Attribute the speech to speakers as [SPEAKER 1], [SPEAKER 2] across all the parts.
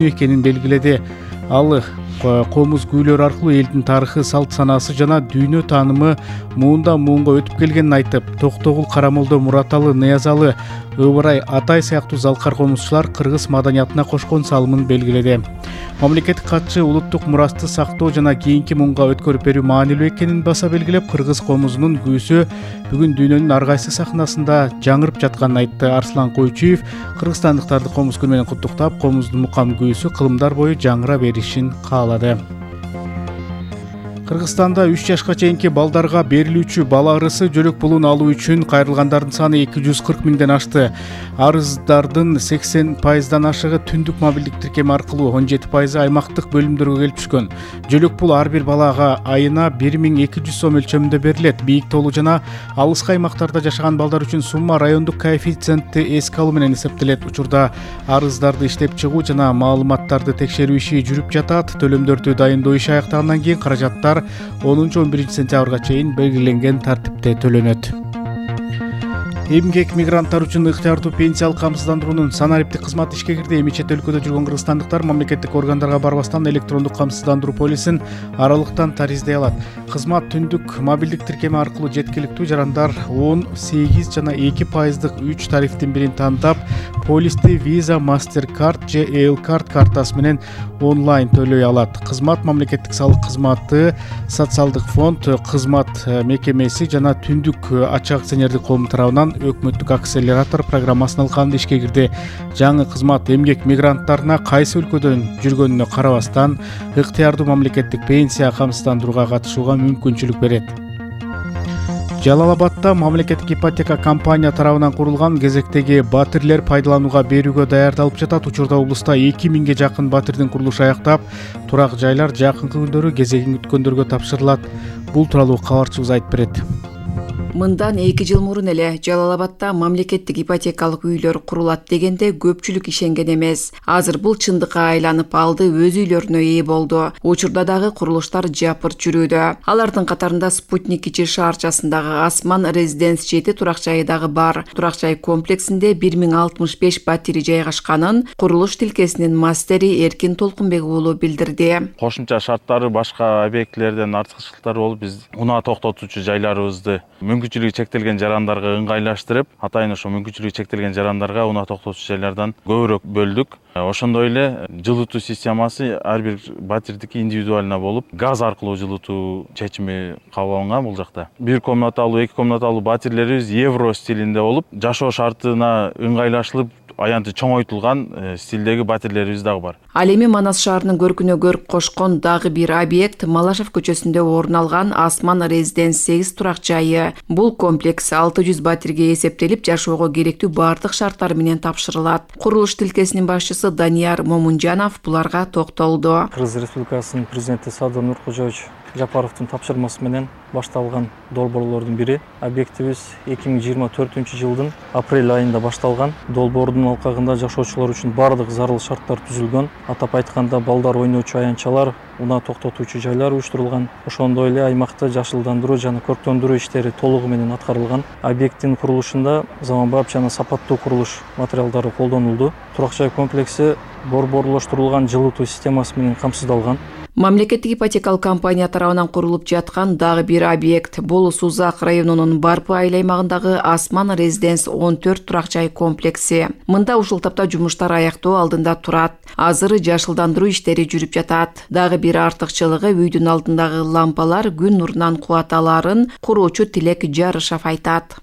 [SPEAKER 1] экенин белгиледи. Ал комуз күүлөр аркылуу элдин тарыхы, салт санаасы жана дүйнө таанымы муундан муунга өтүп келгенин айтып, Токтогул, Карамолдо, Мураталы, Ныязалы, Ыбырай, Атай сыяктуу залкар комузчулар кыргыз маданиятына кошкон салымын белгиледи. Мамлекеттик катчы улуттук мурасты сактоо жана кийинки муунга өткөрүп берүү маанилүү экенин баса белгилеп, кыргыз комузунун күүсү бүгүн дүйнөнүн ар кайсы сахнасында жаңырып жатканын айтты. Арслан Койчуев кыргызстандыктарды комуз күнү менен куттуктап, комуздун мукам күүсү кылымдар бою жаңыра беришин каалады. Кыргызстанда 3 жашка чейинки балдарга берилүүчү бала арысы жөлөк пулун алуу үчүн кайрылгандардын саны 240 миңден ашты. Арыздардын 80%дан ашыгы түндүк мобилдик тиркеми аркылуу, 17% аймактык бөлүмдөргө келип түшкөн. Жөлөк пул ар бир балага айына 1200 сом өлчөмүндө берилет. Бийик тоолуу жана алыскы аймактарда жашаган балдар үчүн сумма райондук коэффициентти эске алуу менен эсептелет. Учурда арыздарды иштеп чыгуу жана маалыматтарды текшерүү иши жүрүп жатат. Төлөмдөрдү дайындоо иши аяктагандан кийин каражаттар 10-11 сентябрга чейин белгиленген тартипте төлөнөт. Эмгек мигранттар үчүн ыктыярдуу пенсиялык камсыздандыруунун санариптик кызматы ишке кирди. Эми чет өлкөдө жүргөн кыргызстандыктар мамлекеттик органдарга барбастан электрондук камсыздандыруу полисин аралыктан тариздей алат. Кызмат түндүк мобилдик тиркеми аркылуу жеткиликтүү жарандар 10, 8 жана 2%дык 3 тарифтин бирин тандап, полисти Visa, MasterCard же L-Card картасы менен онлайн төлөй алат. Кызмат мамлекеттик салык кызматы, социалдык фонд, кызмат мекемеси жана түндүк ачык акционердик коом тарабынан өкмөттүк акселератор программасына алканда ишке кирди. Жаңы кызмат эмгек мигранттарына кайсы өлкөдөн жүргөнүнө карабастан ыктыярдуу мамлекеттик пенсия камсыздандырууга катышууга мүмкүнчүлүк берет. Жалал-Абадда мамлекеттик ипотека компания тарабынан курулган кезектеги батирлер пайдаланууга берүүгө даярдалып жатат. Учурда облуста 2000ге жакын батирдин курулушу аяктап, турак жайлар жакынкы күндөрү кезегин күткөндөргө тапшырылат. Бул тууралуу кабарчыбыз айтып берет.
[SPEAKER 2] Мындан 2 жыл мурун эле Жалал-Абадда мамлекеттик ипотекалык үйлөр курулат дегенде көпчүлүк ишенген эмес. Азыр бул чындыкка айланып алды, өз үйлөрүнө ээ болду. Учурда дагы курулуштар жапырт жүрүүдө. Алардын катарында Спутник кичи шаарчасындагы Асман Резиденс 7 турак жайы дагы бар. Турак жай комплексинде 1065 батири жайгашканын курулуш тилкесинин мастери Эркин Толкунбек уулу билдирди.
[SPEAKER 3] Кошумча шарттары башка объектилерден артыкчылыктары болуп, биз унаа токтотуучу жайларыбызды мүмкүнчүлүгү чектелген жарандарга ыңгайлаштырып, атайын ошо мүмкүнчүлүгү чектелген жарандарга унаа токтотуучу жайлардан көбүрөөк бөлдүк. Ошондой эле жылытуу системасы ар бир батирдики индивидуально болуп, газ аркылуу жылытуу чечими кабыл алынган бул жакта. 1 комнаталуу, 2 комнаталуу батирлерибиз евро стилинде болуп, жашоо шартына ыңгайлашылып, аянты чоңойтулган стилдеги батирлерибиз дагы бар.
[SPEAKER 2] Ал эми Манас шаарынын көркүнө көрк кошкон дагы бир объект Малашев көчөсүндө орун алган Асман Резиденс 8 турак жайы. Бул комплекс 600 батирге эсептелип, жашоого керектүү бардык шарттар менен тапшырылат. Курулуш тилкесинин башчысы Данияр Момунжанов буларга токтолду.
[SPEAKER 4] Кыргыз Республикасынын президенти Садыр Нуркожоевич Жапаровдун тапшырмасы менен башталган долбоорлордун бири. Объектибиз 2024 жылдын апрель айында башталган. Долбоордун алкагында жашоочулар үчүн бардык зарыл шарттар түзүлгөн. Атап айтканда, балдар ойноочу аянтчалар, унаа токтотуучу жайлар уюштурулган. Ошондой эле аймакта жашылдандыруу жана көрктөндүрүү иштери толугу менен аткарылган. Объекттин курулушунда заманбап жана сапаттуу курулуш материалдары колдонулду. Турак жай комплекси борборлоштурулган жылытуу системасы менен камсыздалган.
[SPEAKER 2] Мамлекеттик ипотекалык компания тарабынан курулуп жаткан дагы бир объект бул Сузак районунун Барпы айыл аймагындагы Асман Резиденс 14 турак жай комплекси. Мында ушул тапта жумуштар аяктоо алдында турат. Азыр жашылдандыруу иштери жүрүп жатат. Дагы бир артыкчылыгы үйдүн алдындагы лампалар күн нурунан кубат аларын куруучу Тилек Жарышев айтат.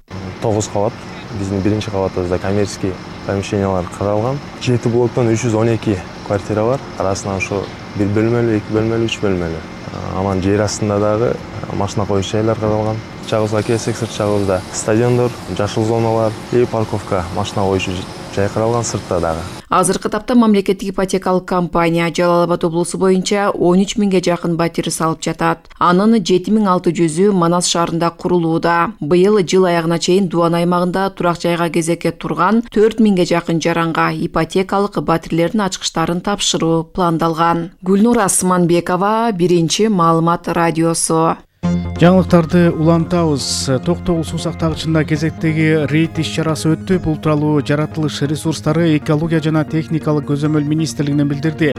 [SPEAKER 5] 9 кабат. Биздин биринчи кабатыбызда коммерческий помещениялар каралган. 7 блоктон 312 квартира бар. Арасынан ошо 1 бөлмөлүү, 2 бөлмөлүү, 3 бөлмөлүү. Анан жер астында дагы машина коюш жайлар каралган. Чагыбызга келсек, сырт жагыбызда стадиондор, жашыл зоналар и парковка, машина коюш жай каралган сыртта дагы.
[SPEAKER 2] Азыркы тапта мамлекеттик ипотекалык компания Жалал-Абад облусу боюнча 13 миңге жакын батир салып жатат. Анын 7600-ü Манас шаарында курулууда. Быйыл жыл аягына чейин Дуан аймагында турак жайга кезекке турган 4 миңге жакын жаранга ипотекалык батирлердин ачкычтарын тапшыруу пландалган. Гүлнур Асманбекова, Биринчи маалымат радиосу.
[SPEAKER 1] Жаңылыктарды улантабыз. Токтогул суу сактагычында кезектеги рейд иш-чарасы өттү. Бул тууралуу жаратылыш ресурстары, экология жана техникалык көзөмөл министрлигинен билдирди.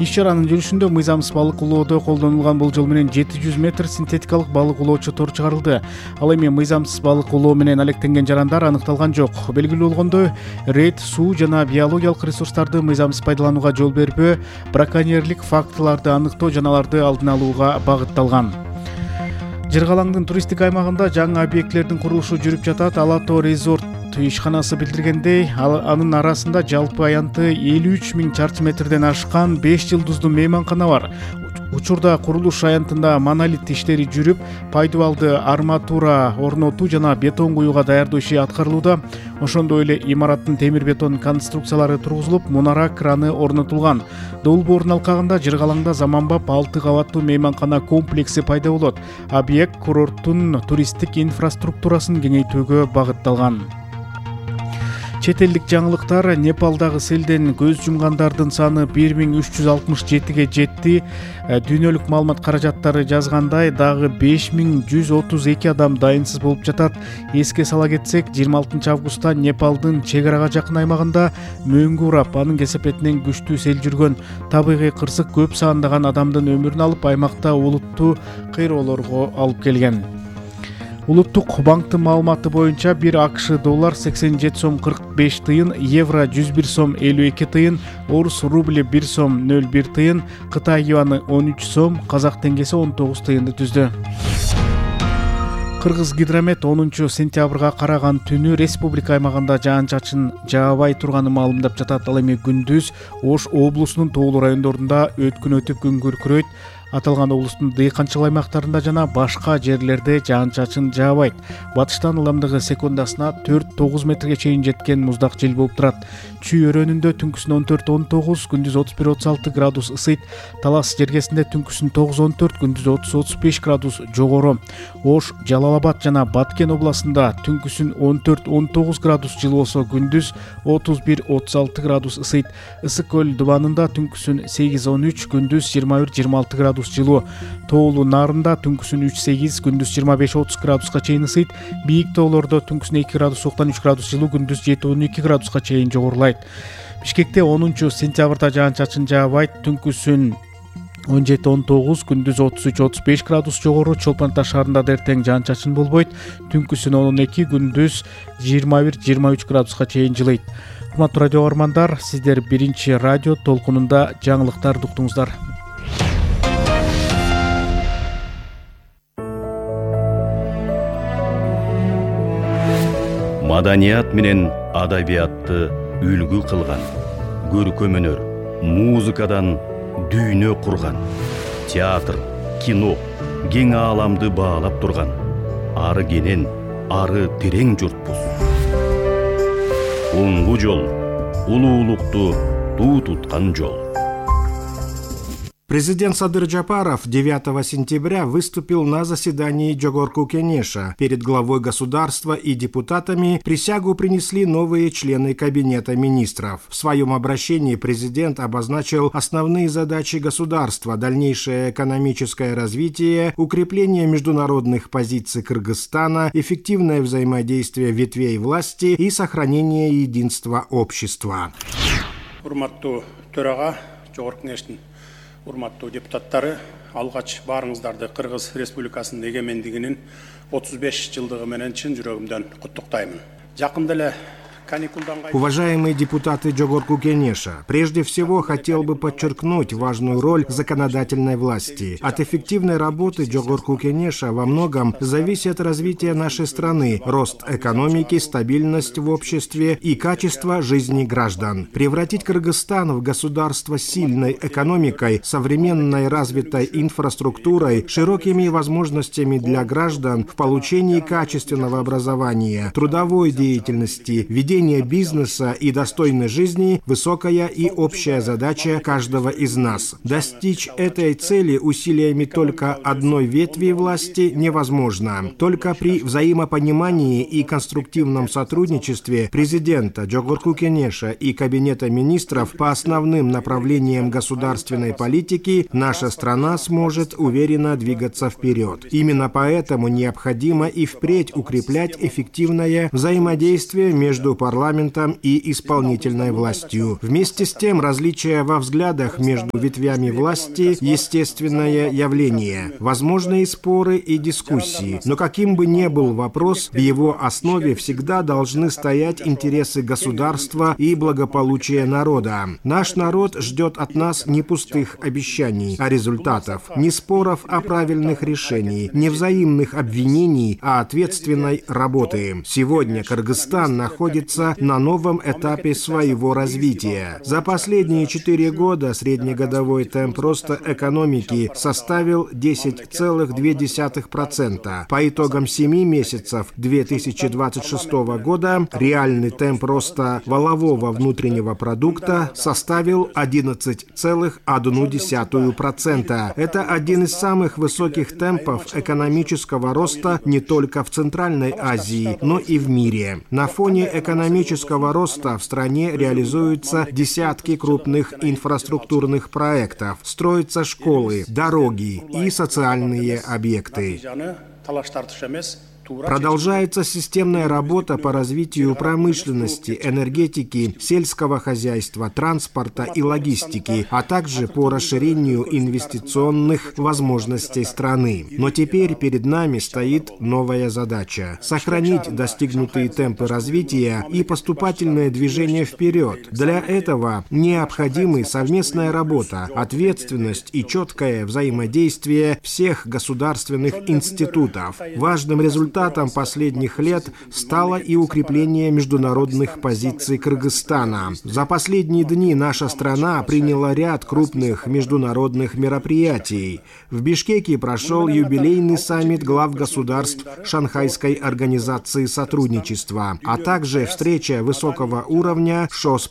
[SPEAKER 1] Иш-чаранын жүрүшүндө мыйзамсыз балык улоодо колдонулган болжол менен 700 метр синтетикалык балык улоочу тор чыгарылды. Ал эми мыйзамсыз балык улоо менен алектенген жарандар аныкталган жок. Белгилүү болгондой, рейд суу жана биологиялык ресурстарды мыйзамсыз пайдаланууга жол бербөө, браконьерлик фактыларды аныктоо жана аларды алдын алууга багытталган. Жыргалаңдын туристтик аймагында жаңы объектлердин курулушу жүрүп жатат. Ала Тоо резорт ишканасы билдиргендей, анын арасында жалпы аянты 53 000 чарчы метрден ашкан 5 жылдыздуу мейманкана бар. Учурда курулуш аянтында монолит иштери жүрүп, пайдубалды арматура орнотуу жана бетон куюуга даярдоо иши аткарылууда. Ошондой эле имараттын темир бетон конструкциялары тургузулуп, мунара краны орнотулган. Долбоордун алкагында Жыргалаңда заманбап 6 кабаттуу мейманкана комплекси пайда болот. Объект курорттун туристтик инфраструктурасын кеңейтүүгө багытталган. Чет элдик жаңылыктар: Непалдагы селден көз жумгандардын саны 1367ге жетти. Дүйнөлүк маалымат каражаттары жазгандай, дагы 5132 адам дайынсыз болуп жатат. Эске сала кетсек, 26 августта Непалдын чек арага жакын аймагында мөңгү урап, анын кесепетинен күчтүү сел жүргөн. Табигый кырсык көп сандаган адамдын өмүрүн алып, аймакта олуттуу кыйроолорго алып келген. Улуттук банктын маалыматы боюнча 1 АКШ доллар 87 сом 45 тыйын, евро 101 сом 52 тыйын, орус рубли 1 сом 01 тыйын, Кытай юаны 13 сом, казак теңгеси 19 тыйынды түздү. Кыргыз гидромет 10 сентябрга караган түнү республика аймагында жаан-чачын жаабай турганы маалымдап жатат. Ал эми күндүз Ош облусунун тоолуу райондорунда өткүн өтүп күн күркүрөйт. Аталган облустун дыйканчылык аймактарында жана башка жерлерде жаан-чачын жаабайт. Батыштан ылымдыгы секундасына 4-9 метрге чейин жеткен муздак жел болуп турат. Чүй өрөөнүндө түнкүсүн 14-19, күндүз 31-36 градус ысыйт. Талас жергесинде түнкүсүн 9-14, күндүз 30-35 градус жогору. Ош, Жалал-Абад жана Баткен областында түнкүсүн 14-19 градус жылы болсо, күндүз 31-36 градус ысыйт. Ысык көл дубанында түнкүсүн 8-13, күндүз 21-26 градус жылуу. Тоолуу Нарында түнкүсүн 3-8, күндүз 25-30 градуска чейин ысыйт. Бийик тоолордо түнкүсүн 2 градус сууктан 3 градус жылуу, күндүз 7-12 градуска чейин жогорулайт. Бишкекте 10 сентябрда жаан-чачын жаабайт. Түнкүсүн 17-19, күндүз 33-35 градус жогору. Чолпон Ата шаарында да эртең жаан-чачын болбойт. Түнкүсүн 12, күндүз 21-23 градуска чейин жылыйт. Урматтуу радио көрөрмандар, сиздер биринчи радио толкунунда жаңылыктарды уктуңуздар.
[SPEAKER 6] Маданият менен адабиятты үлгү кылган, көркөм өнөр, музыкадан дүйнө курган, театр, кино, кең ааламды баалап турган, ары кенен, ары терең журтпуз. Оңгу жол, улуулукту туу туткан жол.
[SPEAKER 7] Президент Садыр Жапаров 9 сентября выступил на заседании Жогорку Кенеша. Перед главой государства и депутатами присягу принесли новые члены Кабинета министров. В своем обращении президент обозначил основные задачи государства: дальнейшее экономическое развитие, укрепление международных позиций Кыргызстана, эффективное взаимодействие ветвей власти и сохранение единства общества.
[SPEAKER 8] Урматтуу төрага, Жогорку Кенештин урматтуу депутаттары, алгач баарыңыздарды Кыргыз Республикасынын эгемендигинин 35 жылдыгы менен чын жүрөгүмдөн куттуктаймын. Жакында эле
[SPEAKER 7] Уважаемые депутаты Жогорку Кенеша, прежде всего хотел бы подчеркнуть важную роль законодательной власти. От эффективной работы Жогорку Кенеша во многом зависит развитие нашей страны, рост экономики, стабильность в обществе и качество жизни граждан. Превратить Кыргызстан в государство с сильной экономикой, современной развитой инфраструктурой, широкими возможностями для граждан в получении качественного образования, трудовой деятельности, ведения возрождение бизнеса и достойной жизни – высокая и общая задача каждого из нас. Достичь этой цели усилиями только одной ветви власти невозможно. Только при взаимопонимании и конструктивном сотрудничестве президента Жогорку Кенеша и Кабинета министров по основным направлениям государственной политики наша страна сможет уверенно двигаться вперед. Именно поэтому необходимо и впредь укреплять эффективное взаимодействие между парламентом и исполнительной властью. Вместе с тем, различия во взглядах между ветвями власти – естественное явление. Возможны и споры, и дискуссии. Но каким бы ни был вопрос, в его основе всегда должны стоять интересы государства и благополучие народа. Наш народ ждет от нас не пустых обещаний, а результатов, не споров, а правильных решений, не взаимных обвинений, а ответственной работы. Сегодня Кыргызстан находится на новом этапе своего развития. За последние 4 года среднегодовой темп роста экономики составил 10,2%. По итогам 7 месяцев 2026 года реальный темп роста валового внутреннего продукта составил 11,1%. Это один из самых высоких темпов экономического роста не только в Центральной Азии, но и в мире. На фоне экономического роста в стране реализуются десятки крупных инфраструктурных проектов, строятся школы, дороги и социальные объекты. Продолжается системная работа по развитию промышленности, энергетики, сельского хозяйства, транспорта и логистики, а также по расширению инвестиционных возможностей страны. Но теперь перед нами стоит новая задача – сохранить достигнутые темпы развития и поступательное движение вперед. Для этого необходимы совместная работа, ответственность и четкое взаимодействие всех государственных институтов. Важным результатом последних лет стало и укрепление международных позиций Кыргызстана. За последние дни наша страна приняла ряд крупных международных мероприятий. В Бишкеке прошел юбилейный саммит глав государств Шанхайской организации сотрудничества, а также встреча высокого уровня ШОС+.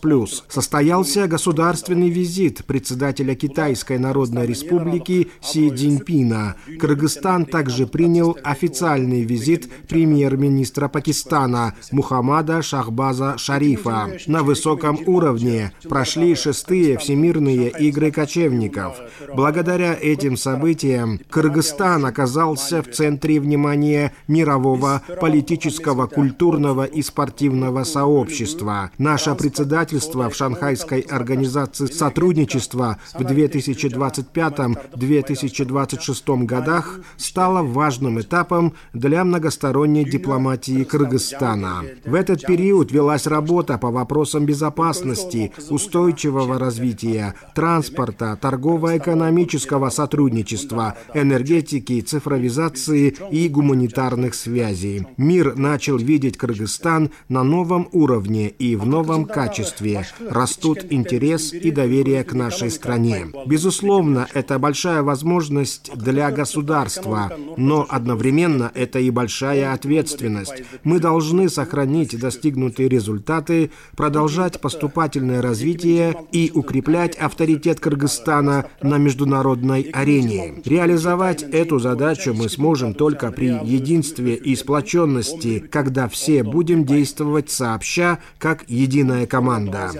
[SPEAKER 7] Состоялся государственный визит председателя Китайской Народной Республики Си Цзиньпина. Кыргызстан также принял официальный визит премьер-министра Пакистана Мухаммада Шахбаза Шарифа. На высоком уровне прошли 6-е Всемирные игры кочевников. Благодаря этим событиям Кыргызстан оказался в центре внимания мирового политического, культурного и спортивного сообщества. Наше председательство в Шанхайской организации сотрудничества в 2025-2026 годах стало важным этапом для многосторонней дипломатии Кыргызстана. В этот период велась работа по вопросам безопасности, устойчивого развития, транспорта, торгово-экономического сотрудничества, энергетики, цифровизации и гуманитарных связей. Мир начал видеть Кыргызстан на новом уровне и в новом качестве. Растут интерес и доверие к нашей стране. Безусловно, это большая возможность для государства, но одновременно это и большая ответственность. Мы должны сохранить достигнутые результаты, продолжать поступательное развитие и укреплять авторитет Кыргызстана на международной арене. Реализовать эту задачу мы сможем только при единстве и сплоченности, когда все будем действовать сообща, как единая команда.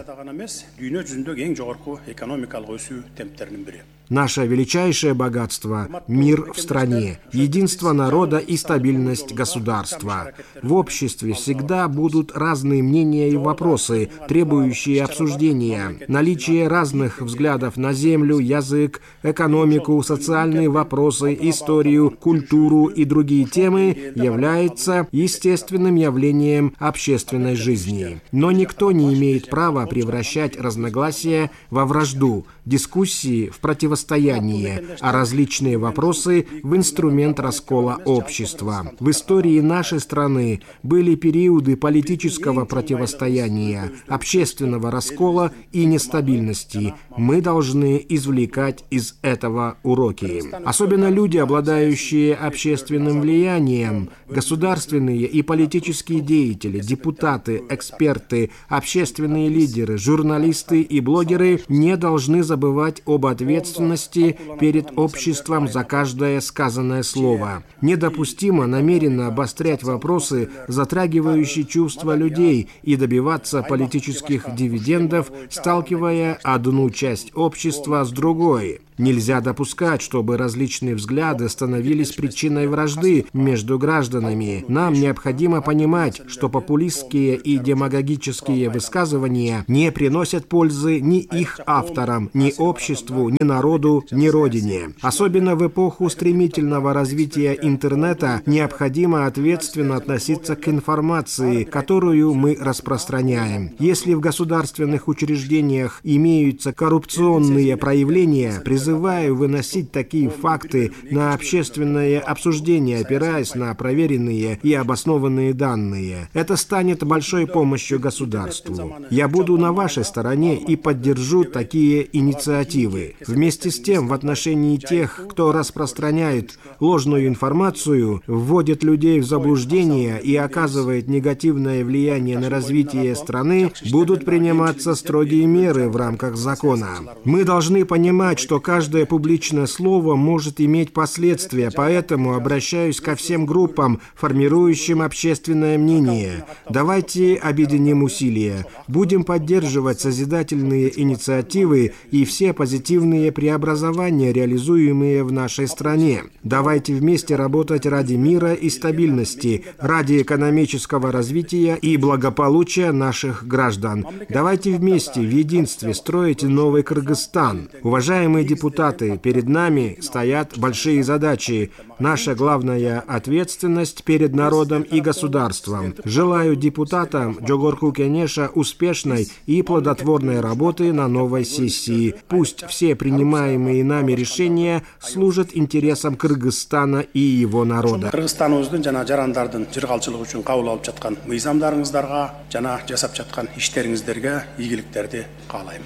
[SPEAKER 7] Наше величайшее богатство – мир в стране, единство народа и стабильность государства. В обществе всегда будут разные мнения и вопросы, требующие обсуждения. Наличие разных взглядов на землю, язык, экономику, социальные вопросы, историю, культуру и другие темы является естественным явлением общественной жизни. Но никто не имеет права превращать разногласия во вражду. дискуссии в противостояние, а различные вопросы в инструмент раскола общества. В истории нашей страны были периоды политического противостояния, общественного раскола и нестабильности. Мы должны извлекать из этого уроки. Особенно люди, обладающие общественным влиянием, государственные и политические деятели, депутаты, эксперты, общественные лидеры, журналисты и блогеры не должны забывать об ответственности перед обществом за каждое сказанное слово. Недопустимо намеренно обострять вопросы, затрагивающие чувства людей, и добиваться политических дивидендов, сталкивая одну часть общества с другой. Нельзя допускать, чтобы различные взгляды становились причиной вражды между гражданами. Нам необходимо понимать, что популистские и демагогические высказывания не приносят пользы ни их авторам, ни обществу, ни народу, ни родине. Особенно в эпоху стремительного развития интернета необходимо ответственно относиться к информации, которую мы распространяем. Если в государственных учреждениях имеются коррупционные проявления, призываю выносить такие факты на общественное обсуждение, опираясь на проверенные и обоснованные данные. Это станет большой помощью государству. Я буду на вашей стороне и поддержу такие инициативы. Вместе с тем, в отношении тех, кто распространяет ложную информацию, вводит людей в заблуждение и оказывает негативное влияние на развитие страны, будут приниматься строгие меры в рамках закона. Мы должны понимать, что каждое публичное слово может иметь последствия, поэтому обращаюсь ко всем группам, формирующим общественное мнение. Давайте объединим усилия. Будем поддерживать созидательные инициативы и все позитивные преобразования, реализуемые в нашей стране. Давайте вместе работать ради мира и стабильности, ради экономического развития и благополучия наших граждан. Давайте вместе в единстве строить новый Кыргызстан. Уважаемые депутаты, перед нами стоят большие задачи. Наша главная ответственность перед народом и государством. Желаю депутатам Жогорку Кенеша успешной и плодотворной работы на новой сессии. Пусть все принимаемые нами решения служат интересам Кыргызстана и его народа.
[SPEAKER 8] Кыргызстаныбыздын жана жарандардын жыргалчылыгы үчүн кабыл алып жаткан мыйзамдарыңыздарга жана жасап жаткан иштериңиздерге ийгиликтерди каалайм.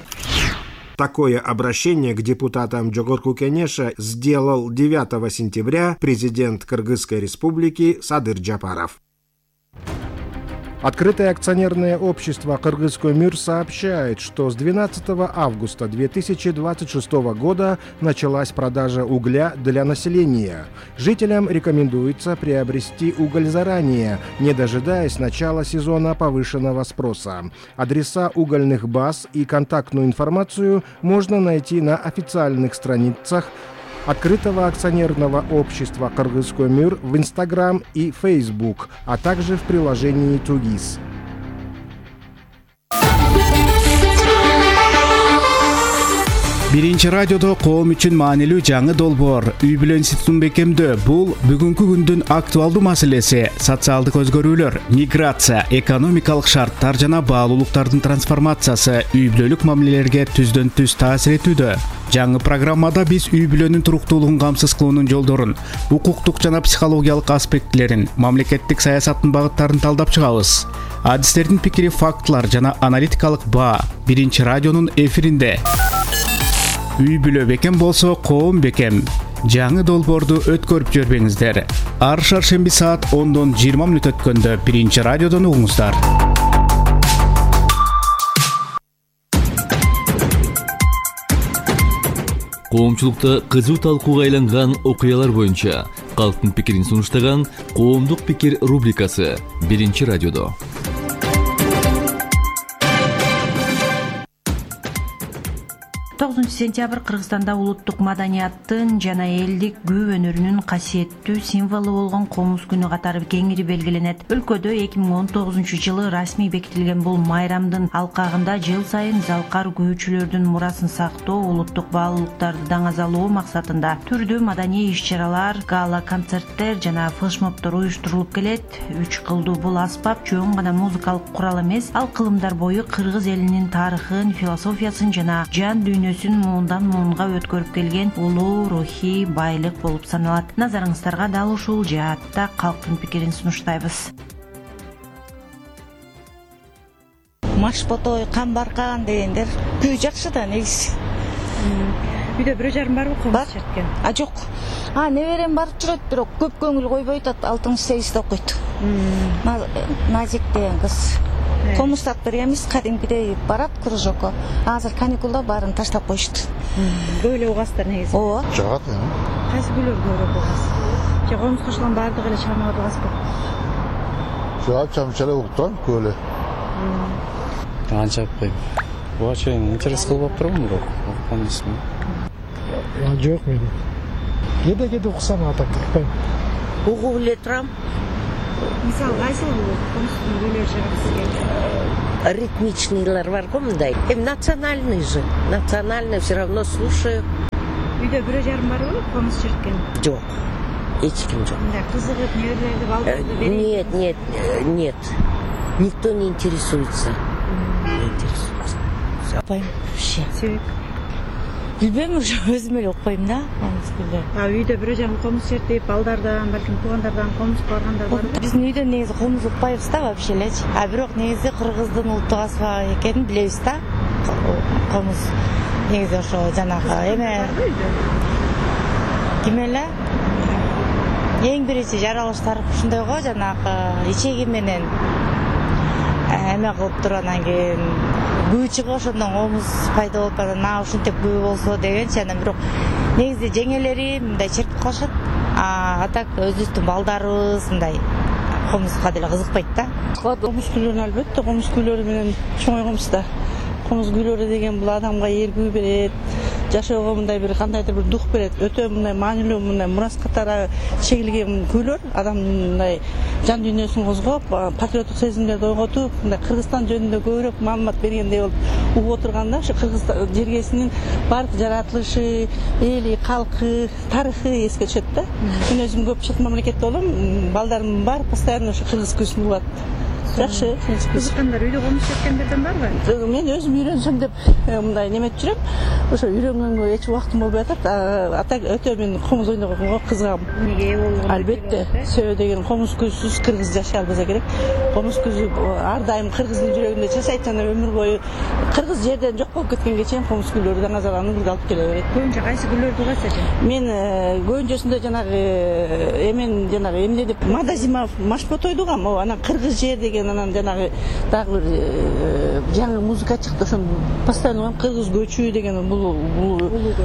[SPEAKER 7] Такое обращение к депутатам Жогорку Кенеша сделал 9 сентября президент Кыргызской республики Садыр Жапаров. Открытое акционерное общество «Кыргызкөмүр» сообщает, что с 12 августа 2026 года началась продажа угля для населения. Жителям рекомендуется приобрести уголь заранее, не дожидаясь начала сезона повышенного спроса. Адреса угольных баз и контактную информацию можно найти на официальных страницах Открытого акционерного общества «Кыргызкөмүр» в Instagram и Facebook, а также в приложении «Тугис».
[SPEAKER 1] Биринчи радиодо коом үчүн маанилүү жаңы долбоор үй бүлө институтун бекемдөө. Бул бүгүнкү күндүн актуалдуу маселеси. Социалдык өзгөрүүлөр, миграция, экономикалык шарттар жана баалуулуктардын трансформациясы үй бүлөлүк мамилелерге түздөн түз таасир этүүдө. Жаңы программада биз үй бүлөнүн туруктуулугун камсыз кылуунун жолдорун, укуктук жана психологиялык аспектилерин, мамлекеттик саясаттын багыттарын талдап чыгабыз. Адистердин пикири, фактылар жана аналитикалык баа биринчи радионун эфиринде. Үй бүлө бекем болсо, коом бекем. Жаңы долбоорду өткөрүп жүрбөңүздөр. Ар шаршемби саат 10:20 өткөндө биринчи радиодон угуңуздар.
[SPEAKER 9] Коомчулукта кызуу талкууга айланган окуялар боюнча калктын пикирин сунуштаган Коомдук пикир рубрикасы биринчи радиодо.
[SPEAKER 10] 9 сентябрь Кыргызстанда улуттук маданияттын жана элдик күү өнөрүнүн касиеттүү символу болгон комуз күнү катары кеңири белгиленет. Өлкөдө 2019-жылы расмий бекитилген бул майрамдын алкагында жыл сайын залкар күүчүлөрдүн мурасын сактоо, улуттук баалуулуктарды даңазалоо максатында түрдүү маданий иш-чаралар, гала концерттер жана флешмобдор уюштурулуп келет. 3 кылдуу бул аспап чоң гана музыкалык курал эмес, ал кылымдар бою кыргыз элинин тарыхын, философиясын жана жан дүйнө дүйнөсүн муундан муунга өткөрүп келген улуу рухий байлык болуп саналат. Назарыңыздарга дал ушул жаатта калктын пикирин сунуштайбыз.
[SPEAKER 11] Машботой, Камбаркан дегендер күй жакшы да негизи.
[SPEAKER 10] Үйдө бирөө жарым барбы комуз черткен?
[SPEAKER 11] Жок. Неберем барып жүрөт, бирок көп көңүл койбойт, 6-8-де окуйт. Назик деген кыз. Комустат бергенбиз, кадимкидей барат кружокко. Азыр каникулда баарын таштап коюшту.
[SPEAKER 10] Көп эле угасыздар негизи.
[SPEAKER 11] Ооба.
[SPEAKER 12] Жагат.
[SPEAKER 10] Кайсы күйлөр көбүрөөк угасыз? Же комуз кошулган баардык эле чыгармаларды угасызбы?
[SPEAKER 12] Жагат чамчалай угуп турам, көп эле.
[SPEAKER 13] Анча айтпайм. Буга чейин интерес кылып тургам, бирок уккан эмесмин.
[SPEAKER 14] Жок менин. Кеде уксам атак укпайм.
[SPEAKER 15] Угуп эле турам.
[SPEAKER 10] Мисалы кайсыл комуздун күйлөрү жагат сизге?
[SPEAKER 15] Ритмичныйлар бар го мындай. Национальный же. Национальный все равно слушаю.
[SPEAKER 10] Үйдө бирөө жарым барбы комуз черткен?
[SPEAKER 15] Жок. Эч ким жок.
[SPEAKER 10] Мындай кызыгып, неберелерди, балдарды
[SPEAKER 15] берет? Нет. Никто не интересуется. Не интересуется.
[SPEAKER 11] Укпайм вообще.
[SPEAKER 10] Себеп?
[SPEAKER 11] Билбейм, уже өзүм эле укпайм да комуз күйлөр.
[SPEAKER 10] Үйдө бирөө жарым комуз чертип, балдардан, балким туугандардан комуз баргандар барбы?
[SPEAKER 11] Биздин үйдө негизи комуз укпайбыз да вообще элечи. Бирок негизи кыргыздын улуттук асыбы экенин билебиз да. Комуз негизи ошо жанагы эме ким эле? Эң биринчи жаралыштар ушундай го, жанагы ичеги менен эме кылып туруп анан кийин күү чыгып ошондон комуз пайда болуп анан ушинтип күү болсо дегенчи. Анан бирок негизи жеңелери мындай чертип калышат. Так өзүбүздүн балдарыбыз мындай комузга деле кызыкпайт да.
[SPEAKER 16] Комуз күйлөрүн албетте комуз күйлөрү менен чоңойгонбуз да. Комуз күйлөрү деген бул адамга эргүү берет, жашоого мындай бир кандайдыр бир дух берет. Өтө мындай маанилүү, мындай мурас катары чегилген күйлөр адамдын мындай жан дүйнөсүн козгоп, патриоттук сезимдерди ойготуп, мындай Кыргызстан жөнүндө көбүрөөк маалымат бергендей болуп угуп отурганда, ошо Кыргызстан жергесинин баардык жаратылышы, эли, калкы, тарыхы эске түшөт да. Мен өзүм көп чет мамлекетте болом, балдарым бар, постоянно ошо кыргыз күзүн угат. Жакшы.
[SPEAKER 10] Кызыккандар үйдө комуз черткендерден барбы?
[SPEAKER 16] Мен өзүм үйрөнсөм деп мындай неметип жүрөм. Ошо үйрөнгөнгө эч убактым болбой атат. Атак өтө мен комуз ойногонго кызыгам.
[SPEAKER 10] Эмнеге болгон?
[SPEAKER 16] Албетте. Себеби деген комуз күзсүз кыргыз жашай албаса керек. Комуз күзү ар дайым кыргыздын жүрөгүндө жашайт жана өмүр бою кыргыз жерден жок болуп кеткенге чейин комуз күйлөрү даңа зараны бирге алып келе берет.
[SPEAKER 10] Көбүнчө кайсы күйлөрдү угасыз?
[SPEAKER 16] Мен көбүнчөсүндө жанагы эмне деп Мадазима Машботойду угам. Анан кыргыз жер деген, анан жанагы дагы бир жаңы музыка чыкты, ошону постоянно угам. Кыргыз көчү деген бул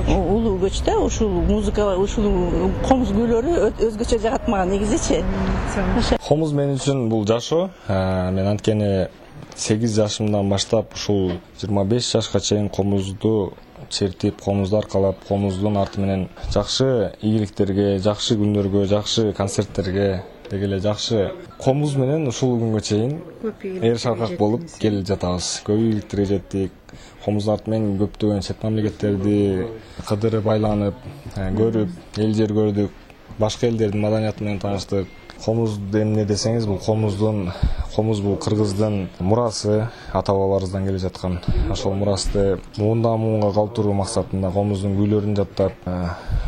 [SPEAKER 16] улуу көч да. Ушул музыка, ушул комуз күйлөрү өзгөчө жагат мага негизичи.
[SPEAKER 5] Комуз мен үчүн бул жашоо. Мен анткени 8 жашымдан баштап ушул 25 жашка чейин комузду чертип, комузду аркалап, комуздун арты менен жакшы ийгиликтерге, жакшы күндөргө, жакшы концерттерге деги эле жакшы комуз менен ушул күнгө чейин эр шаркак болуп келе жатабыз. Көп ийгиликтерге жеттик. Комуздун арты менен көптөгөн чет мамлекеттерди кыдырып айланып, көрүп, эл жер көрдүк. Башка элдердин маданияты менен тааныштык. Комуз эмне десеңиз, бул комуз бул кыргыздын мурасы, ата бабаларыбыздан келе жаткан. Ошол мурасты муундан муунга калтыруу максатында комуздун күйлөрүн жаттап,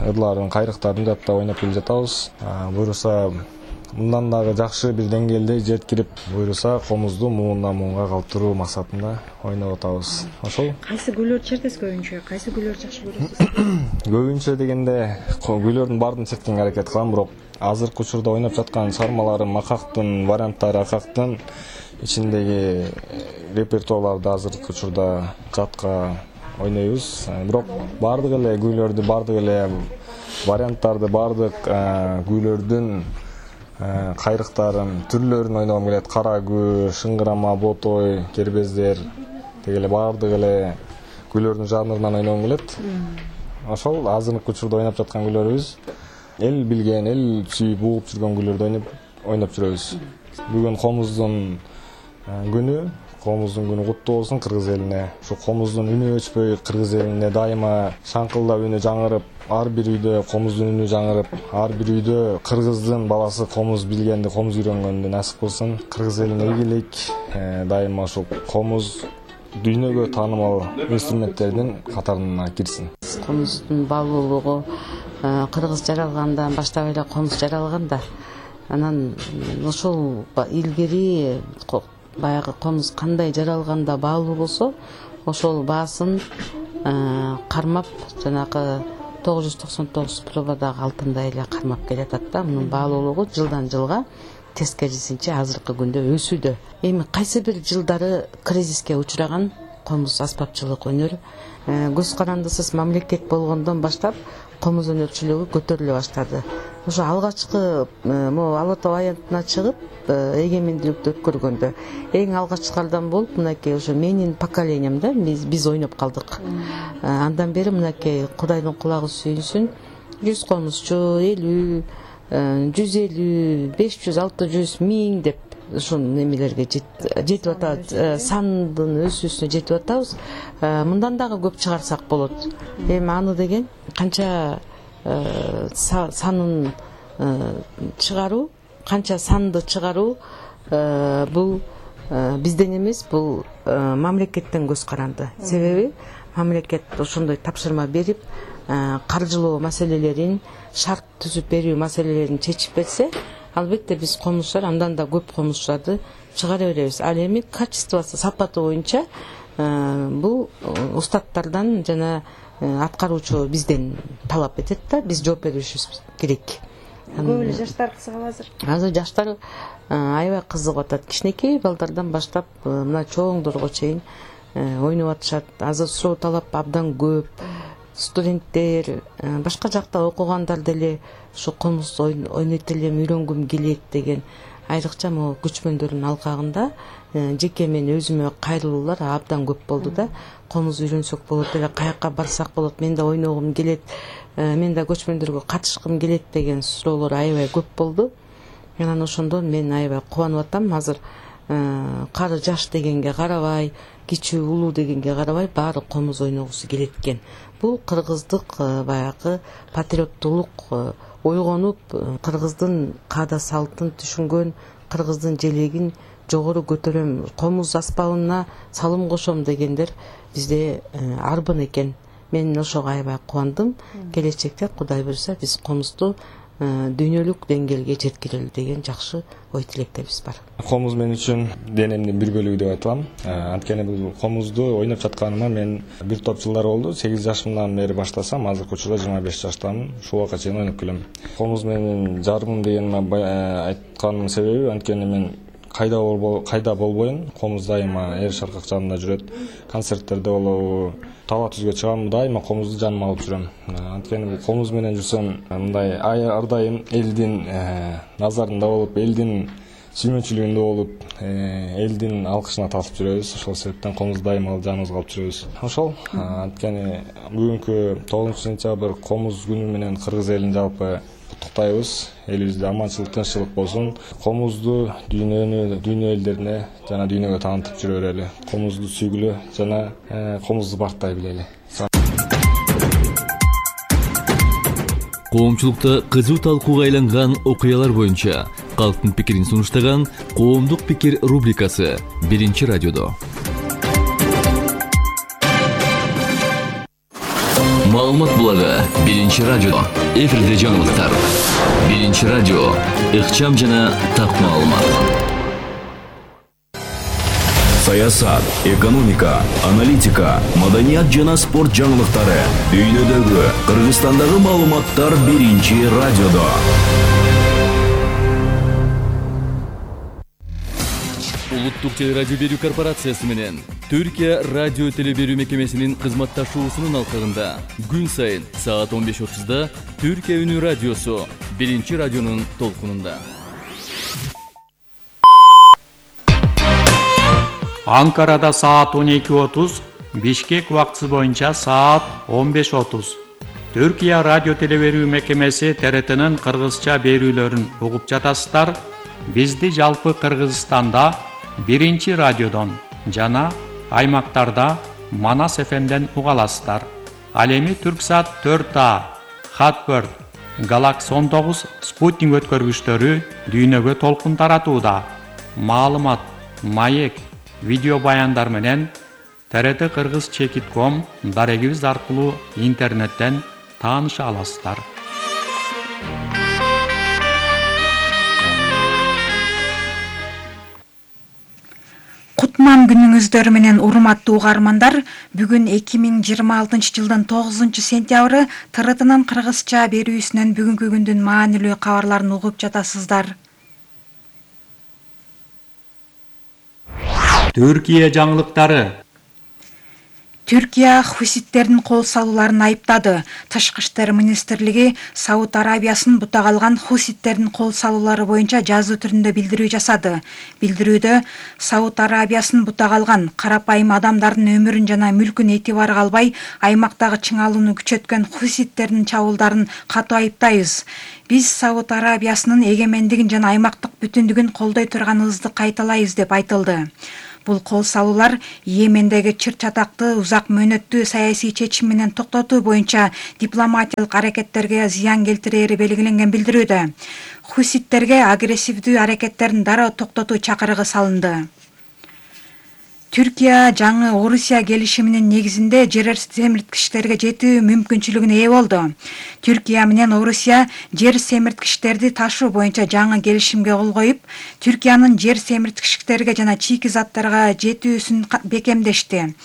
[SPEAKER 5] ырларын, кайрыктарын жаттап ойноп келе жатабыз. Буюрса мындан дагы жакшы бир деңгээлде жеткирип, буюрса комузду муундан муунга калтыруу максатында ойноп атабыз. Ошол.
[SPEAKER 10] Кайсы күйлөр чертесиз көбүнчө? Кайсы күйлөр жакшы көрөсүз?
[SPEAKER 5] Көбүнчө дегенде күйлөрдүн баарын черткенге аракет кылам, бирок азыркы учурда ойноп жаткан чыгармаларым акактын варианттары, акактын ичиндеги репертуарларды азыркы учурда жатка ойнойбуз. Бирок баардык эле күйлөрдү, баардык эле варианттарды, баардык күйлөрдүн кайрыктарын, түрлөрүн ойногом келет. Кара күү, шыңгырама, ботой, кербездер деги эле баардык эле күйлөрдүн жанрынан ойногом келет. Ошол азыркы учурда ойноп жаткан күйлөрүбүз эл билген, эл сүйүп угуп жүргөн күйлөрдү ойноп жүрөбүз. Бүгүн комуздун күнү куттуу болсун кыргыз элине. Ушу комуздун үнү өчпөй кыргыз элине дайыма шаңкылдап үнү жаңырып, ар бир үйдө комуздун үнү жаңырып, ар бир үйдө кыргыздын баласы комуз билгенди, комуз үйрөнгөндү насип кылсын. Кыргыз элине ийгилик, дайыма ушул комуз дүйнөгө таанымал инструменттердин катарына кирсин.
[SPEAKER 17] Комуздун баалуулугу кыргыз жаралгандан баштап эле комуз жаралган да. Анан ошол илгери баягы комуз кандай жаралганда баалуу болсо, ошол баасын кармап жанагы 999 пробадагы алтындай эле кармап келатат да. Мунун баалуулугу жылдан жылга тескерисинче азыркы күндө өсүүдө. Эми кайсы бир жылдары кризиске учураган комуз аспапчылык өнөрү көз карандысыз мамлекет болгондон баштап комуз өнөрчүлүгү көтөрүлө баштады. Ошо алгачкы могу Ала Тоо аянтына чыгып эгемендүүлүктү өткөргөндө эң алгачкылардан болуп мынакей ошо менин поколениямда биз ойноп калдык. Андан бери мынакей Кудайдын кулагы сүйүнсүн 100 комузчу, 50, 150, 500, 600, 1000 деп ушул немелерге жетип атат. Сандын өсүүсүнө жетип атабыз. Мындан дагы көп чыгарсак болот. Эми аны деген канча санын чыгаруу, канча санды чыгаруу бул бизден эмес, бул мамлекеттен көз каранды. Себеби мамлекет ошондой тапшырма берип, каржылоо маселелерин, шарт түзүп берүү маселелерин чечип берсе, албетте биз комузчулар андан да көп комузчуларды чыгара беребиз. Ал эми качествосы, сапаты боюнча бул устаттардан жана аткаруучу бизден талап этет да, биз жооп беришибиз керек.
[SPEAKER 10] Көп эле жаштар кызыгабы азыр?
[SPEAKER 17] Азыр жаштар аябай кызыгып атат. Кичинекей балдардан баштап мына чоңдорго чейин ойноп атышат. Азыр суроо талап абдан көп. Студенттер, башка жакта окугандар деле ушу комуз ойнойт элем, үйрөнгүм келет деген айрыкча могу көчмөндөрдүн алкагында жеке мен өзүмө кайрылуулар абдан көп болду да. Комуз үйрөнсөк болот эле, каякка барсак болот, мен да ойногум келет, мен да көчмөндөргө катышкым келет деген суроолор аябай көп болду. Анан ошондон мен аябай кубанып атам. Азыр кары жаш дегенге карабай, кичүү улуу дегенге карабай баары комуз ойногусу келет экен. Бул кыргыздык баягы патриоттуулук ойгонуп, кыргыздын каада салтын түшүнгөн, кыргыздын желегин жогору көтөрөм, комуз аспабына салым кошом дегендер бизде арбын экен. Мен ошого аябай кубандым. Келечекте Кудай буйрса биз комузду дүйнөлүк деңгээлге жеткирели деген жакшы ой тилектебиз бар.
[SPEAKER 5] Комуз мен үчүн денемдин бир бөлүгү деп айтылам. Анткени бул комузду ойноп жатканыма мен бир топ жылдар болду. 8 жашымдан бери баштасам, азыркы учурда 25 жаштамын. Ушул убакка чейин ойноп келем. Комуз менин жарымым деген айтканымдын себеби анткени мен кайда болбойн, комуз дайыма эр шаркак жанымда жүрөт. Концерттерде болобу, таба түзгө чыгам, дайыма комузду жаныма алып жүрөм. Анткени бул комуз менен жүрсөм, мындай ар дайым элдин назарында болуп, элдин сүймөнчүлүгүндө болуп, элдин алкышына татып жүрөбүз. Ошол себептен комуз дайыма жаныбызга алып жүрөбүз. Ошол анткени бүгүнкү 9-сентябрь комуз күнү менен кыргыз элин жалпы куттуктайбыз. Элибизде аманчылык, тынччылык болсун. Комузду дүйнө элдерине жана дүйнөгө таанытып жүрө берели. Комузду сүйгүлө жана комузду барктай билели.
[SPEAKER 9] Коомчулукта кызуу талкууга айланган окуялар боюнча калктын пикирин сунуштаган Коомдук пикир рубрикасы 1-радиодо. Маалымат булагы 1-радиодо. Эфирде жаңылыктар. 1-радио. Ыкчам жана так маалымат.
[SPEAKER 6] Саясат, экономика, аналитика, маданият жана спорт жаңылыктары. Дүйнөдөгү, Кыргызстандагы маалыматтар 1-радиодо.
[SPEAKER 9] Улуттук телерадио берүү корпорациясы менен Түркия радио телеберүү мекемесинин кызматташуусунун алкагында күн сайын саат 15:30 Түркия үнү радиосу 1-радионун толкунунда.
[SPEAKER 18] Анкарада саат 12:30, Бишкек убактысы боюнча саат 15:30. Түркия радио телеберүү мекемеси ТРТнын кыргызча берүүлөрүн угуп жатасыздар. Бизди жалпы Кыргызстанда 1-радиодон жана аймактарда Манас ФМден уга аласыздар. Ал эми Түрксат 4А, Хатбird, Galaxy 19 спутник өткөргүчтөрү дүйнөгө толкун таратууда. Маалымат, маек, видео баяндар менен TRT Кыргыз Чекит.com дарегибиз аркылуу интернеттен тааныша аласыздар.
[SPEAKER 19] Кутман күнүңүздөр менен урматтуу угармандар, бүгүн 2026 жылдын 9 сентябры ТРТнын кыргызча берүүсүнөн бүгүнкү күндүн маанилүү кабарларын угуп жатасыздар.
[SPEAKER 18] Түркия жаңылыктары.
[SPEAKER 19] Түркия хуситтердин кол салууларын айыптады. Тышкы иштер министрлиги Сауд Арабиясын бутак алган хуситтердин кол салуулары боюнча жазуу түрүндө билдирүү жасады. Билдирүүдө Сауд Арабиясын бутак алган карапайым адамдардын өмүрүн жана мүлкүн этибарга албай, аймактагы чыңалууну күчөткөн хуситтердин чабуулдарын катуу айыптайбыз. Биз Сауд Арабиясынын эгемендигин жана аймактык бүтүндүгүн колдой турганыбызды кайталайбыз деп айтылды. Бул кол салуулар Йемендеги чыр-чатакты узак мөөнөттүү саясий чечим менен токтотуу боюнча дипломатиялык аракеттерге зыян келтирери белгиленген билдирүүдө. Хуситтерге агрессивдүү аракеттерин дароо токтотуу чакырыгы салынды. Түркия жаңы Орусия келишиминин негизинде жер семирткичтерге жетүү мүмкүнчүлүгүнө ээ болду. Түркия менен Орусия жер семирткичтерди ташуу боюнча жаңы келишимге кол коюп, Түркиянын жер семирткичтерге жана чийки заттарга жетүүсүн бекемдешти.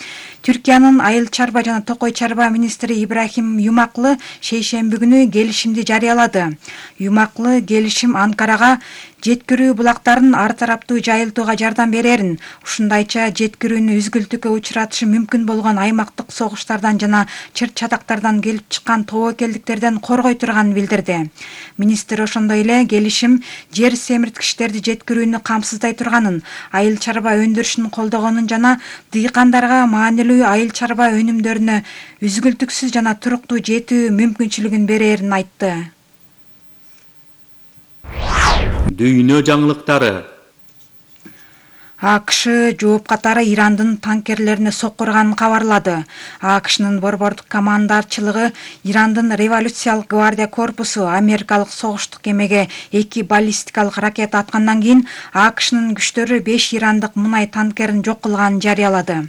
[SPEAKER 19] Түркиянын айыл чарба жана токой чарба министри Ибрахим Юмаклы шейшемби күнү келишимди жарыялады. Юмаклы келишим Анкарага жеткирүү булактарын ар тараптуу жайылтууга жардам берерин, ушундайча жеткирүүнү үзгүлтүккө учуратышы мүмкүн болгон аймактык согуштардан жана чыр-чатактардан келип чыккан тобокелдиктерден коргой турганын билдирди. Министр ошондой эле келишим жер семирткичтерди жеткирүүнү камсыздай турганын, айыл чарба өндүрүшүн колдогонун жана дыйкандарга маанилүү айыл чарба өнүмдөрүнө үзгүлтүксүз жана туруктуу жетүү мүмкүнчүлүгүн берерин айтты.
[SPEAKER 18] Дүйнө жаңылыктары.
[SPEAKER 19] АКШ жооп катары Ирандын танкерлерине соккурганын кабарлады. АКШнын борбордук командарчылыгы Ирандын революциялык гвардия корпусу америкалык согуштук кемеге 2 баллистикалык ракета аткандан кийин АКШнын күчтөрү 5 ирандык мунай танкерин жок кылганын жарыялады.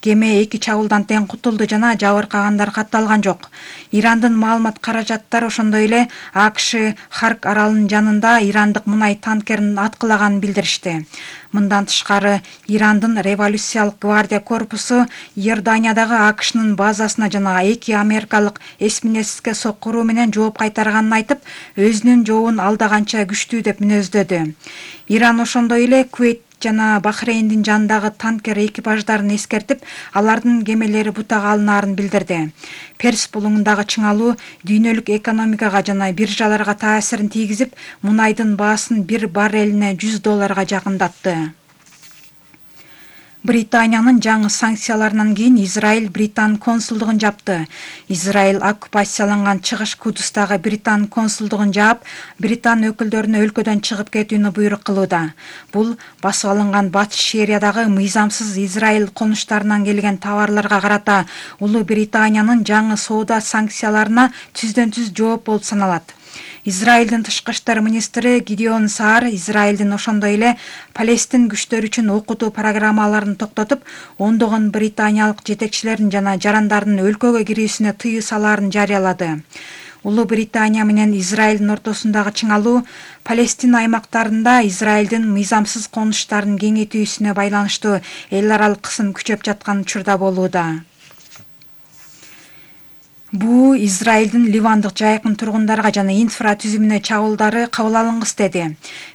[SPEAKER 19] Кеме 2 чабуулдан тең кутулду жана жабыркагандар катталган жок. Ирандын маалымат каражаттары ошондой эле АКШ Харк аралынын жанында ирандык мунай танкерин аткылаганын билдиришти. Мындан тышкары Ирандын революциялык гвардия корпусу Иорданиядагы АКШнын базасына жана 2 америкалык эсминецке соккуруу менен жооп кайтарганын айтып, өзүнүн жообун алдаганча күчтүү деп мүнөздөдү. Иран ошондой эле Кувейт жана Бахрейндин жанындагы танкер экипаждарын эскертип, алардын кемелери бутак алынаарын билдирди. Перс булуңундагы чыңалуу дүйнөлүк экономикага жана биржаларга таасирин тийгизип, мунайдын баасын 1 баррелине $100 жакындатты. Британиянын жаңы санкцияларынан кийин Израиль Британ консулдугун жапты. Израиль оккупацияланган Чыгыш Кудустагы Британ консулдугун жаап, Британ өкүлдөрүнө өлкөдөн чыгып кетүүнү буйрук кылууда. Бул басып алынган Батыш Шериядагы мыйзамсыз Израиль конуштарынан келген товарларга карата Улуу Британиянын жаңы соода санкцияларына түздөн-түз жооп болуп саналат. Израилдин тышкы иштер министри Гидеон Саар Израилдин ошондой эле Палестин күчтөрү үчүн окутуу программаларын токтотуп, ондогон британиялык жетекчилердин жана жарандардын өлкөгө кирүүсүнө тыюу салаарын жарыялады. Улуу Британия менен Израилдин ортосундагы чыңалуу Палестин аймактарында Израилдин мыйзамсыз конуштарын кеңейтүүсүнө байланыштуу эл аралык кысым күчөп жаткан учурда болууда. Бу Израилдин Ливандык жайкын тургундарга жана инфратүзүмүнө чабуулдары кабыл алынгыс деди.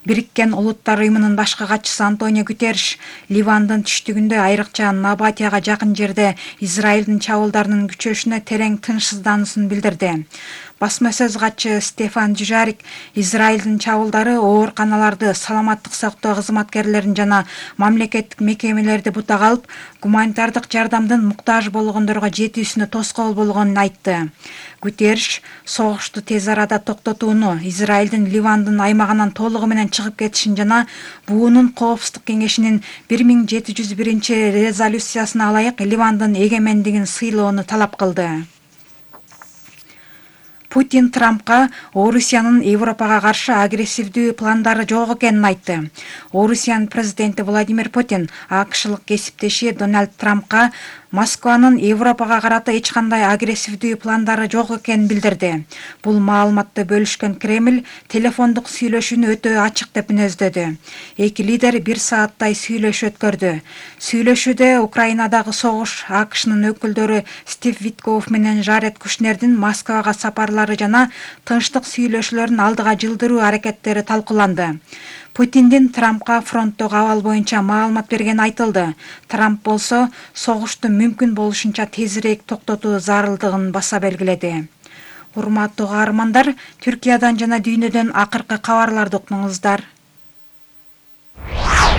[SPEAKER 19] Бириккен Улуттар уюмунун башкы катчысы Антонио Гутерриш Ливандын түштүгүндө, айрыкча Набатияга жакын жерде Израилдин чабуулдарынын күчөшүнө терең тынчсыздануусун билдирди. Басма сөз катчы Стефан Дюжарик Израилдин чабуулдары ооруканаларды, саламаттык сактоо кызматкерлерин жана мамлекеттик мекемелерди бутак алып, гуманитардык жардамдын муктаж болгондорго жетүүсүнө тоскоол болгонун айтты. Гутерриш согушту тез арада токтотууну, Израилдин Ливандын аймагынан толугу менен чыгып кетишин жана буунун Коопсуздук кеңешинин 1701 резолюциясына ылайык Ливандын эгемендигин сыйлоону талап кылды. Путин Трампка Орусиянын Европага каршы агрессивдүү пландары жок экенин айтты. Орусиянын президенти Владимир Путин АКШлык кесиптеши Дональд Трампка Москванын Европага карата эч кандай агрессивдүү пландары жок экенин билдирди. Бул маалыматты бөлүшкөн Кремль телефондук сүйлөшүүнү өтө ачык деп мүнөздөдү. Эки лидер 1 сааттай сүйлөшүү өткөрдү. Сүйлөшүүдө Украинадагы согуш, АКШнын өкүлдөрү Стив Витков менен Жаред Кушнердин Москвага сапарлары жана тынчтык сүйлөшүүлөрүн алдыга жылдыруу аракеттери талкууланды. Путиндин Трампка фронттогу абал боюнча маалымат бергени айтылды. Трамп болсо согушту мүмкүн болушунча тезирээк токтотуу зарылдыгын баса белгиледи. Урматтуу каармандар, Түркиядан жана дүйнөдөн акыркы кабарларды уктуңуздар.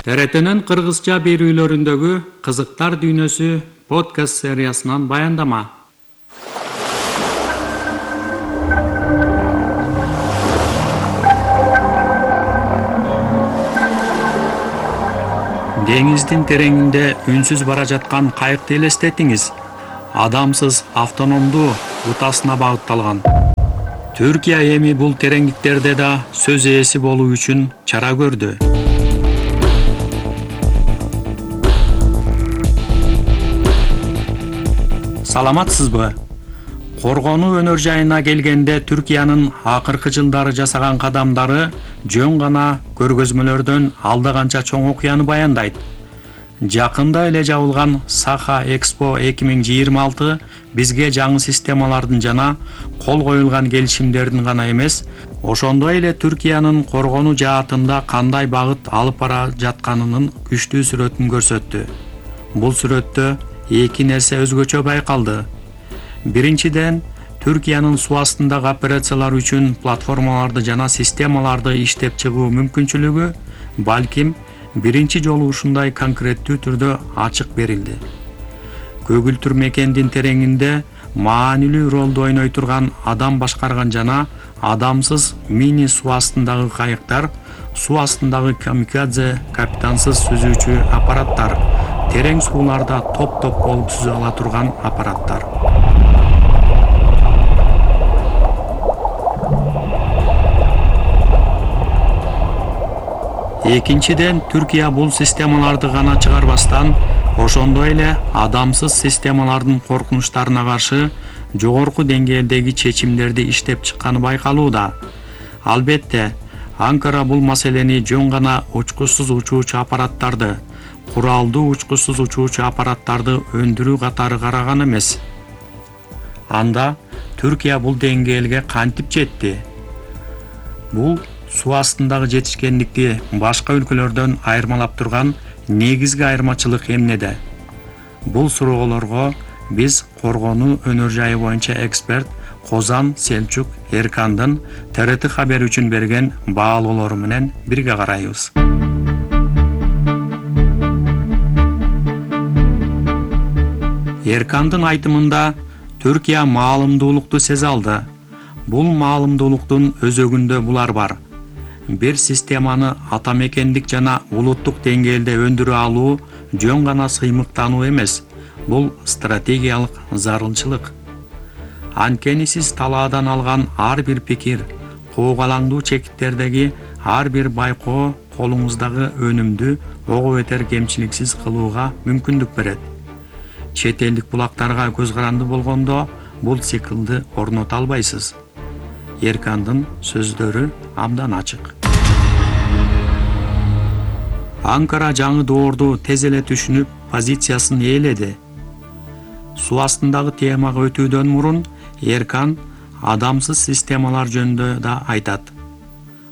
[SPEAKER 18] ТРТнын кыргызча берүүлөрүндөгү кызыктар дүйнөсү подкаст сериясынан баяндама. Деңиздин тереңинде үнсүз бара жаткан кайыкты элестетиңиз. Адамсыз автономдуу утасына багытталган. Түркия эми бул тереңдиктерде да сөз ээси болуу үчүн чара көрдү. Саламатсызбы? Коргонуу өнөр жайына келгенде Түркиянын акыркы жылдары жасаган кадамдары жөн гана көргөзмөлөрдөн алда канча чоң окуяны баяндайт. Жакында эле жабылган Саха Экспо 2026 бизге жаңы системалардын жана кол коюлган келишимдердин гана эмес, ошондой эле Түркиянын коргонуу жаатында кандай багыт алып бара жатканынын күчтүү сүрөтүн көрсөттү. Бул сүрөттө эки нерсе өзгөчө байкалды. Биринчиден, Түркиянын суу астындагы операциялар үчүн платформаларды жана системаларды иштеп чыгуу мүмкүнчүлүгү балким биринчи жолу ушундай конкреттүү түрдө ачык берилди. Көгүлтүр мекендин тереңинде маанилүү ролду ойной турган адам башкарган жана адамсыз мини суу астындагы кайыктар, суу астындагы камикадзе капитансыз сүзүүчү аппараттар, терең сууларда топ-топ болуп сүзө ала турган аппараттар. Экинчиден, Түркия бул системаларды гана чыгарбастан, ошондой эле адамсыз системалардын коркунучтарына каршы жогорку деңгээлдеги чечимдерди иштеп чыкканы байкалууда. Албетте, Анкара бул маселени жөн гана учкучсуз учуучу аппараттарды, куралдуу учкучсуз учуучу аппараттарды өндүрүү катары караган эмес. Анда Түркия бул деңгээлге кантип жетти? Бул суу астындагы жетишкендикти башка өлкөлөрдөн айырмалап турган негизги айырмачылык эмнеде? Бул суроолорго биз коргонуу өнөр жайы боюнча эксперт Козан Селчук Эркандын ТРТ хабар үчүн берген баалоолору менен бирге карайбыз. Эркандын айтымында Түркия маалымдуулукту сезе алды. Бул маалымдуулуктун өзөгүндө булар бар. Бир системаны атамекендик жана улуттук деңгээлде өндүрө алуу жөн гана сыймыктануу эмес, бул стратегиялык зарылчылык. Анткени сиз талаадан алган ар бир пикир, коогалаңдуу чекиттердеги ар бир байкоо колуңуздагы өнүмдү ого бетер кемчиликсиз кылууга мүмкүндүк берет. Чет элдик булактарга көз каранды болгондо бул циклды орното албайсыз. Эркандын сөздөрү абдан ачык. Анкара жаңы доорду тез эле түшүнүп, позициясын ээледи. Суу астындагы темага өтүүдөн мурун Эркан адамсыз системалар жөнүндө да айтат.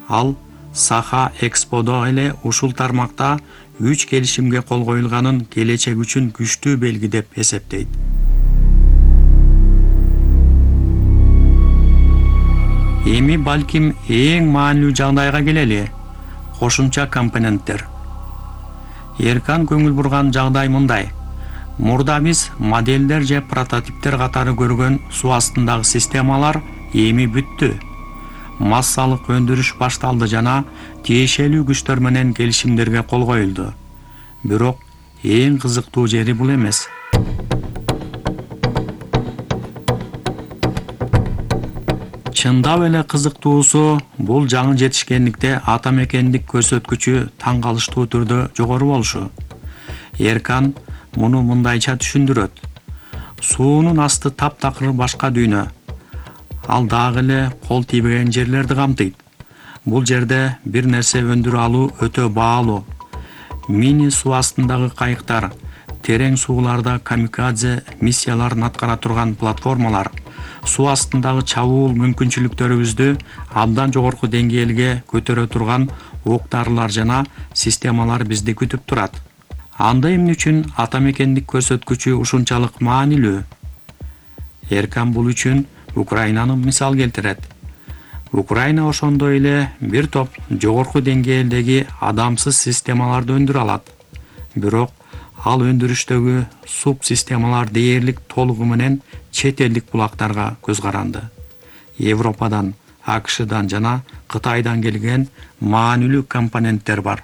[SPEAKER 18] Ал Саха Эксподо эле ушул тармакта 3 келишимге кол коюлганын келечек үчүн күчтүү белги деп эсептейт. Эми балким эң маанилүү жагдайга келели. Кошумча компоненттер. Эркан көңүл бурган жагдай мындай. Мурда биз моделдер же прототиптер катары көргөн суу астындагы системалар эми бүттү. Массалык өндүрүш башталды жана тиешелүү күчтөр менен келишимдерге кол коюлду. Бирок эң кызыктуу жери бул эмес. Чындап эле кызыктуусу бул жаңы жетишкендикте атамекендик көрсөткүчү таң калыштуу түрдө жогору болушу. Эркан муну мындайча түшүндүрөт. суунун асты таптакыр башка дүйнө. Ал дагы эле кол тийбеген жерлерди камтыйт. Бул жерде бир нерсе өндүрө алуу өтө баалуу. Мини суу астындагы кайыктар, терең сууларда камикадзе миссияларын аткара турган платформалар, суу астындагы чабуул мүмкүнчүлүктөрүбүздү абдан жогорку деңгээлге көтөрө турган оқ-дарылар жана системалар бизди күтүп турат. Анда эмне үчүн ата мекендик көрсөткүчү ушунчалык маанилүү? Эркан бул үчүн Украинаны мисал келтирет. Украина ошондой эле бир топ жогорку деңгээлдеги адамсыз системаларды өндүрө алат. Бирок ал өндүрүштөгү субсистемалар дээрлик толугу менен чет элдик булактарга көз каранды. Европадан, АКШдан жана Кытайдан келген маанилүү компоненттер бар.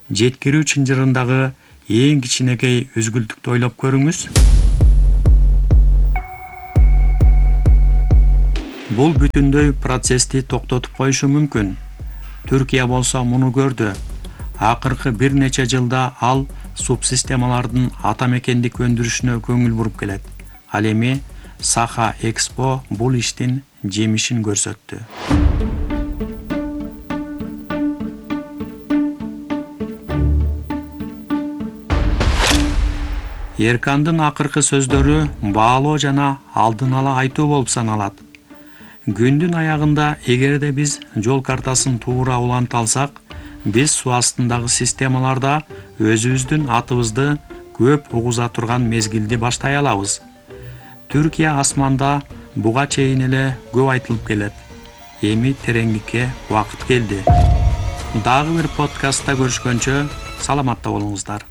[SPEAKER 18] Жеткирүү чынжырындагы эң кичинекей өзгүлтүктү ойлоп көрүңүз. Бул бүтүндөй процессти токтотуп коюшу мүмкүн. Түркия болсо муну көрдү. Акыркы бир нече жылда ал субсистемалардын ата мекендик өндүрүшүнө көңүл буруп келет. Ал эми Саха Экспо бул иштин жемишин көрсөттү. Эркандын акыркы сөздөрү баалоо жана алдын ала айтуу болуп саналат. Күндүн аягында эгерде биз жол картасын туура уланта алсак, биз суу астындагы системаларда өзүбүздүн атыбызды көп угуза турган мезгилди баштай алабыз. Түркия асманда буга чейин эле көп айтылып келет. Эми тереңдикке убакыт келди. Дагы бир подкастта көрүшкөнчө саламатта болуңуздар.